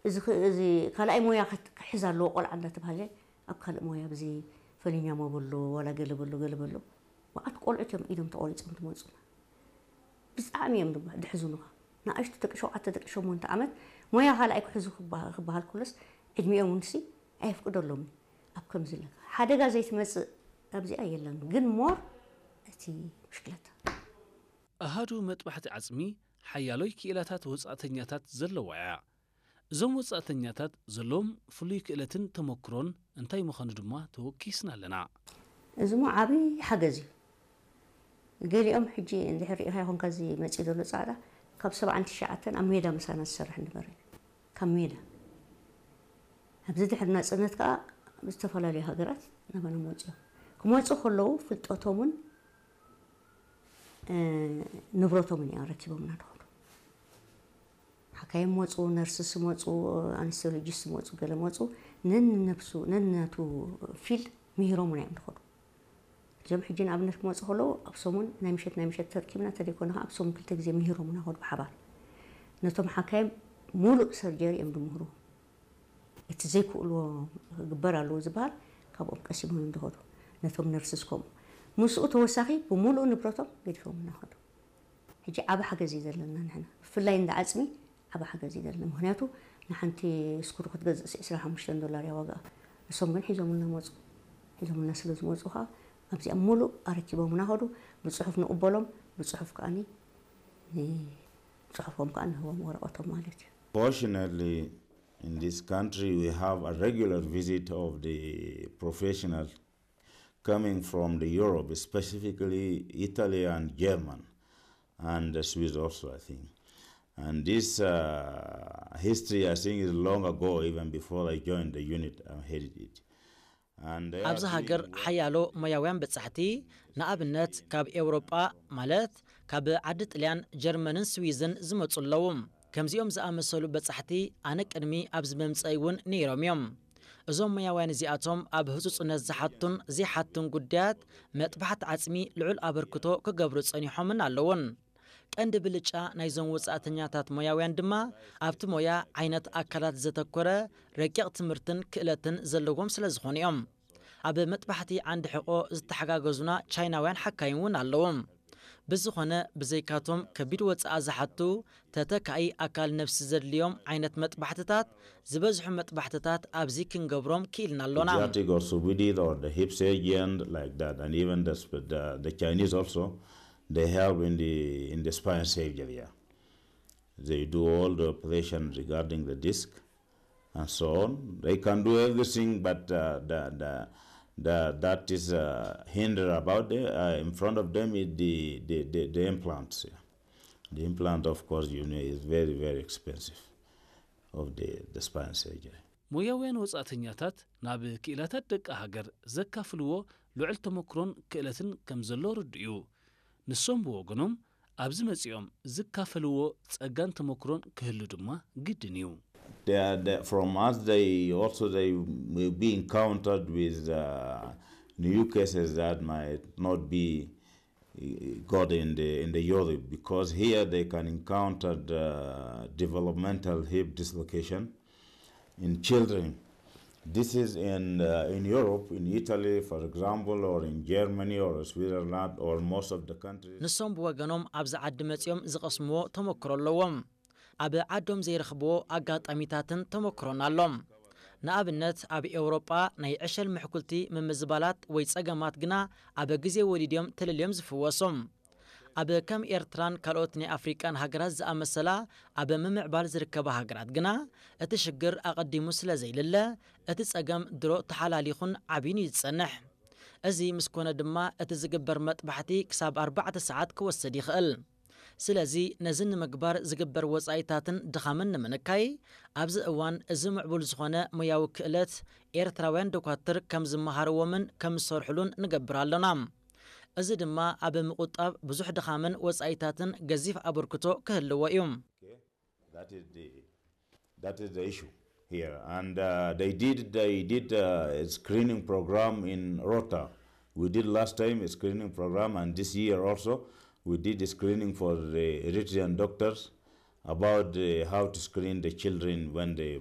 እዚ ኽ- እዚ ካልኣይ ሞያ ክት- ክሕዝ ኣለዎ ቆልዓ እንዳተባሃለ ኣብ ካልእ ሞያ ብዚ ፈሊኛ ሞ በሎ ዋላ ገለ በሎ ገለ በሎ። መዓት ቆልዑት እዮም ኢዶም ተቆሪጾም ትመጹና። ብጣዕሚ እዮም ድማ ድሕዙኑኻ። ንኣሽቱ ደቂ ሸውዓተ ደቂ ሸሞንተ ዓመት ሞያ ካልኣይ ክሕዙ ክበሃ- ክበሃል ከሎስ ዕድሚኦም እውን ሲ ኣየፍቅደሎምን። ኣብ ከምዚ ኣለካ ሓደጋ ዘይትመጽእ ኣብዚኣ የለን ግን ሞር እቲ ብሽክለታ ኣሃዱ መጥባሕቲ ዓጽሚ ሓያሎይ ክኢላታት ወጻእተኛታት ዘለዋ እያ። እዞም ወጻእተኛታት ዘለዎም ፍሉይ ክእለትን ተመክሮን እንታይ ምዃኑ ድማ ተወኪስና ኣለና። እዚ ሞ ዓብዪ ሓገዝ እዩ። ገሊኦም ሕጂ እንድሕር ሪኢኻ ይኾንካ እዚ መፂእ ዘሎ ፃዕዳ ካብ ሰብዓን ትሽዓተን ኣብ ሜዳ ምሳና ዝሰርሕ ንበር እዩ። ካብ ሜዳ ኣብዚ ድሕሪ ናፅነት ከዓ ዝተፈላለዩ ሃገራት ናባና መፅኦም ክመፁ ከለዉ ፍልጠቶምን ንብረቶምን እዮም ረኪቦምና ድኾኑ። ሓካይም መፁ፣ ነርስስ መፁ፣ ኣንስቶሎጂስት መፁ፣ ገለ መፁ። ነንነብሱ ነንነቱ ፊልድ ምሂሮምና እዮም ድኾኑ። እዞም ሕጂ ንኣብነት ክመፁ ከለዉ ኣብ ሰሙን ናይ ምሸት ናይ ምሸት ተርኪብና ተደይኮነ ከዓ ኣብ ሰሙን ክልተ ግዜ ምሂሮምና ኸዱ ብሓባር። ነቶም ሓካይም ሙሉእ ሰርጀሪ እዮም ድምህሩ። እቲ ዘይክእልዎ ክግበር ኣለዎ ዝበሃል ካብኦም ቀሲሞም እዮም ዝኸዱ። ነቶም ነርስስ ከምኡ ምስኡ ተወሳኺ ብምሉእ ንብረቶም ገዲፎምና ኸዱ። ሕጂ ዓቢ ሓገዝ እዩ ዘለና ንሕና ብፍላይ እንዳ ዓፅሚ ዓቢ ሓገዝ እዩ ዘለና። ምክንያቱ ንሓንቲ ስኩሩ ክትገዝእስ ዕስራን ሓሙሽተን ዶላር እያ ዋጋኣ። ንሶም ግን ሒዞምልና መፁ። ሒዞምልና ስለ ዝመፁ ከዓ ኣብዚኣ ሙሉእ ኣረኪቦምና ኸዱ። ብፅሑፍ ንቕበሎም፣ ብፅሑፍ ከዓኒ ንፅሑፎም ከዓ ንህቦም ወረቐቶም ማለት እዩ። Fortunately, in this country, we have a regular visit of the professional coming from the Europe, specifically Italy and German, and the Swiss also, I think. And this uh, history, I think, is long ago, even before I joined the unit and headed it. And they ኣብዚ are ሃገር doing well. ሓያሎ ሞያውያን በጻሕቲ፣ ንኣብነት ካብ ኤውሮጳ ማለት ካብ ዓዲ ጥልያን፣ ጀርመንን ስዊዝን ዝመጹ ኣለዉ። ከምዚኦም ዝኣመሰሉ በጻሕቲ ኣነ ቅድሚ ኣብዚ ምምጸይ እውን ነይሮም እዮም። እዞም ሞያውያን እዚኣቶም ኣብ ህጹጽነት ዝሓቱን ዘይሓቱን ጉዳያት መጥባሕቲ ዓጽሚ ልዑል ኣበርክቶ ክገብሩ ጸኒሖምን ኣለዉን። ቀንዲ ብልጫ ናይዞም ወጻእተኛታት ሞያውያን ድማ ኣብቲ ሞያ ዓይነት ኣካላት ዘተኮረ ረቂቕ ትምህርትን ክእለትን ዘለዎም ስለ ዝኾኑ እዮም። ኣብ መጥባሕቲ ዓንዲ ሕቆ ዝተሓጋገዙና ቻይናውያን ሓካይም እውን ኣለዎም። ብዝኾነ ብዘይካቶም ከቢድ ወጻኣ ዝሓቱ ተተካኢ ኣካል ነብሲ ዘድልዮም ዓይነት መጥባሕትታት ዝበዝሑ መጥባሕትታት ኣብዚ ክንገብሮም ክኢልና ኣሎና። Pediatric orthopedic or the hip surgeon like that, and even the, sp- the, the Chinese also, they help in the in the spine surgery. Yeah. They do all the operation regarding the disc and so on. They can do everything, but uh, the, the, the, that is a hinder about the, uh, in front of them is the, the, the, the implants. Yeah. The implant, of course, you know, is very, very expensive of the, the spine surgery. ሞያውያን ወጻእተኛታት ናብ ክኢላታት ደቂ ሃገር ዘካፍልዎ ልዑል ተመክሮን ክእለትን ከም ዘሎ ርዱእ እዩ። ንሶም ብወገኖም ኣብዚ መጺኦም ዝካፈልዎ ጸጋን ተመክሮን ክህሉ ድማ ግድን እዩ። They are, they, from us, they also they will be encountered with uh, new cases that might not be uh, got in the in the Europe, because here they can encounter the developmental hip dislocation in children. This is in uh, in Europe, in Italy, for example, or in Germany or Switzerland or most of the countries. ንሶም ብወገኖም ኣብዚ ዓዲ መጺኦም ዝቐስምዎ ተመክሮ ኣለዎም። ኣብ ዓዶም ዘይረኽብዎ ኣጋጣሚታትን ተመክሮን ኣሎም። ንኣብነት ኣብ ኤውሮጳ ናይ ዕሸል ምሕኩልቲ ምምዝባላት ወይ ጸገማት ግና ኣብ ግዜ ወሊድዮም ተለልዮም ዝፍወሶም። ኣብ ከም ኤርትራን ካልኦት ናይ ኣፍሪቃን ሃገራት ዝኣመሰላ ኣብ ምምዕባል ዝርከባ ሃገራት ግና እቲ ሽግር ኣቐዲሙ ስለ ዘይልለ እቲ ጸገም ድሮ ተሓላሊኹን ዓብዩን እዩ ዝጸንሕ። እዚ ምስ ኮነ ድማ እቲ ዝግበር መጥባሕቲ ክሳብ ኣርባዕተ ሰዓት ክወስድ ይኽእል። ስለዚ ነዚ ንምግባር ዝግበር ወጻኢታትን ድኻምን ንምንካይ ኣብዚ እዋን እዚ ምዕቡል ዝኾነ ሞያዊ ክእለት ኤርትራውያን ዶኳትር ከም ዝመሃርዎምን ከም ዝሰርሕሉን ንገብር ኣሎና። እዚ ድማ ኣብ ምቑጣብ ብዙሕ ድኻምን ወጻኢታትን ገዚፍ ኣበርክቶ ክህልዎ እዩ። That is the that is the issue here. And uh, they did they did uh, a screening program in Rota. We did last time a screening program, and this year also we did a screening for the Eritrean doctors about uh, how to screen the children when they